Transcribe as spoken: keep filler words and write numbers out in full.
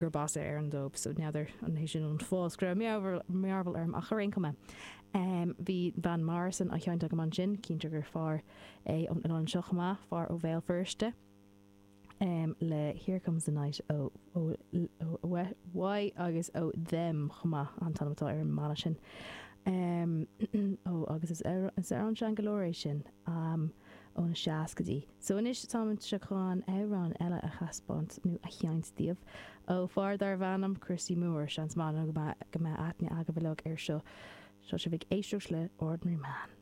gurb as Éirinn dóibh, so n'fheadar an é sin an fáth go raibh mearbhall orm ach ar aon chuma bhí Van Morrison á sheinnt agam ansin, cinnte gur fear é ón oileán seo chomh maith, fear ó Bhéal Feirste le Here Comes the Night ó ó ó Why agus ó Them chomh maith an t-ainm atá ar an mbanna sin. Ó agus is amhrán sean go leor é sin ó na seascaidí. So anois táimse chun amhrán eile a thaispeáint nó a sheinnt daoibh ó fear darbh ainm Christy Moore, seans maith go mbeidh aithne agaibh uilig air seo. Seo sibh ag éisteacht le Ordinary Man.